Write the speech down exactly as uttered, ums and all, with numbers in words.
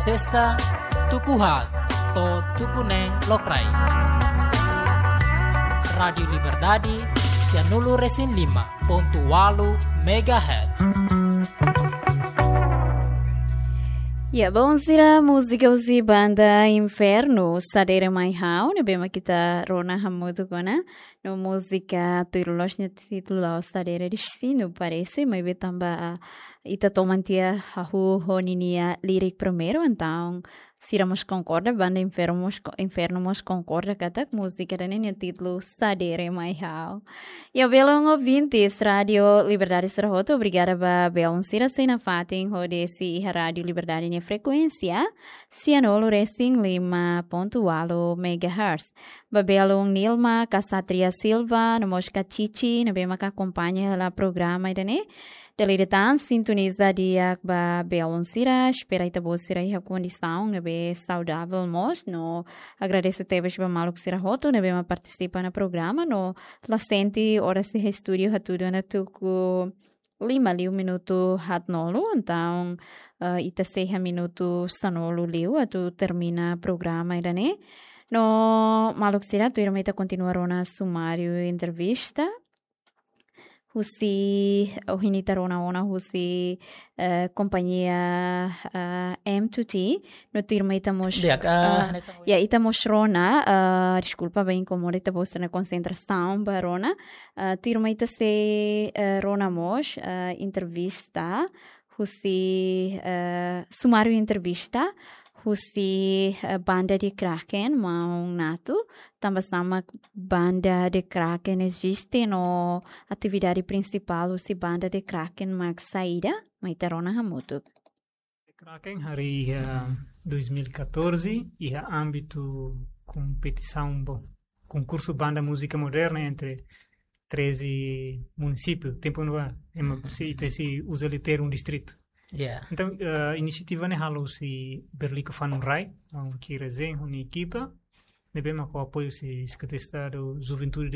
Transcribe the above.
Sesta, tuku haat to'o tuku neen lokraik. Rádiu Liberdade, sianulu-resin-lima pontu ualu megahertz. Ya, bom, sira múzika husi banda Inferno, Sadere Mai Ha'u, ne'ebé mak ita rona hamutuk ona. No múzika tuir loos nia títulu Sadere Destinu, parese, maibé tanba, ah, ita toman tiha hahú ho ninia lirik primeiru, entaun sira mós konkorda, banda Inferno mós ko-, Inferno mós konkorda katak múzika ida-ne'e nia títulu Sadere Mai Ha'u. Ya, belun ouvintes Rádiu Liberdade sira hotu, obrigada ba belun sira sei nafatin hodi sei iha Rádiu Liberdade nia frekuénsia, sianulu-resin-lima pontu ualu megahertz. Ba belun Nilma Casatria Silva, no mós Kacici, ne'ebé maka akompaña hela programa ida-ne'e. Dala ida tan, sintoniza di'ak ba belun sira, espera ita-boot sira iha kondisaun ne'ebé saudavel mós, no agradese tebes ba maluk sira hotu ne'ebé mak partisipa iha programa, no la sente oras iha estúdiu hatudu ona tuku lima liu minutu haatnulu, entaun, eh, ita sei iha minutu sanulu liu atu termina programa ida-ne'e. No maluk sira, tuirmai ita kontinua rona sumáriu entrevista. Husi, ohin ita rona ona husi, eh, kompañia, eh, M two T, no tuirmai ita mós, Di'ak, ah, eh, hanesan ohin. Ya, ita mós rona, eh, deskulpa ba inkomoda ita-boot sira-nia konsentrasaun ba rona. Eh, tuirmai ita sei, eh, rona mós, eh, entrevista husi, eh, sumáriu entrevista husi, eh, banda The Kraken, maun Nato, tanba sá mak banda The Kraken eziste no atividade prinsipál husi banda The Kraken mak saida, mai ita rona hamutuk. The Kraken harii iha dois mil e catorze, iha ámbitu kompetisaun, bom, konkursu banda múzika moderna entre treze munisípiu, tempu ne'ebá, ema, Uhum. se, ita sei uza liu termu distritu. Yeah. Entaun, eh, inisiativa ne'e halo husi Berliko Fanun Rai, maun Kira Zen, ho nia ekipa, ne'ebé mak ho apoiu husi Sekretaria Estadu Juventude